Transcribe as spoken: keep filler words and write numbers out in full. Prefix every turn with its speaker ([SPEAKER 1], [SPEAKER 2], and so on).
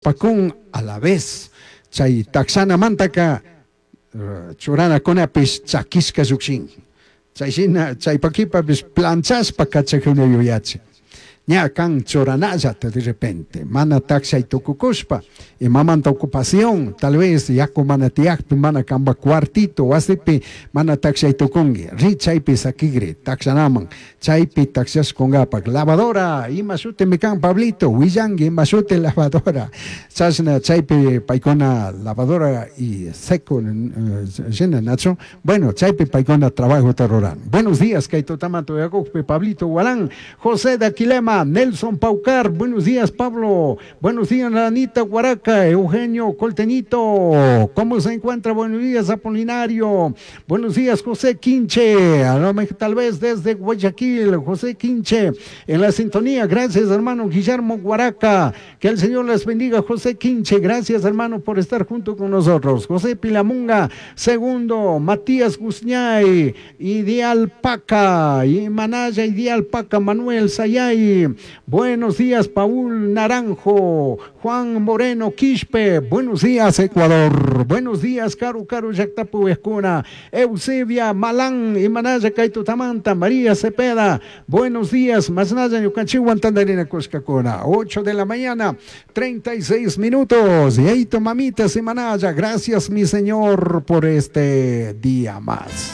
[SPEAKER 1] Pakun a la vez chay takshanamantaka churanakunapish chakishka llukshin chayshina chaypakipapish planchashpa kachakuna yuyachin ña kan churanallata de repente mana takshay tukukushpa imamanta ocupación tal vez yaku mana tiyakpi mana kanpak cuartito wasipi mana takshay tukunki ri chaypi sakigri takshanaman chaypi takshashkunkapak lavadora ima shutimi kan Pablito willanki ima shuti lavadora chashna chaypi paykuna lavadora y seco shina nachu bueno chaypi paykuna trabajota ruran. Buenos días kay tutamanta uyakukpi Pablito Gualán, José de Aquilema, Nelson Paucar, buenos días Pablo, buenos días Anita Guaraca, Eugenio Coltenito, ¿cómo se encuentra? Buenos días Apolinario, buenos días José Quinche, a lo mejor tal vez desde Guayaquil, José Quinche, en la sintonía, gracias hermano Guillermo Guaraca, que el Señor les bendiga José Quinche, gracias hermano por estar junto con nosotros, José Pilamunga, segundo, Matías Guzñay, Ideal Paca, y Manaya Ideal Paca, Manuel Sayay, buenos días Paul Naranjo, Juan Moreno Quispe, buenos días Ecuador, buenos días Caru Caru Yactapu Escuna, Eusebia Malán, y Manaya Kaitutamanta, María Cepeda, buenos días, Masnaya Ñucanchihuan Tandarina Cuscacuna, ocho de la mañana, treinta y seis minutos, y ahí tu mamita y Manaya, gracias mi Señor por este día más.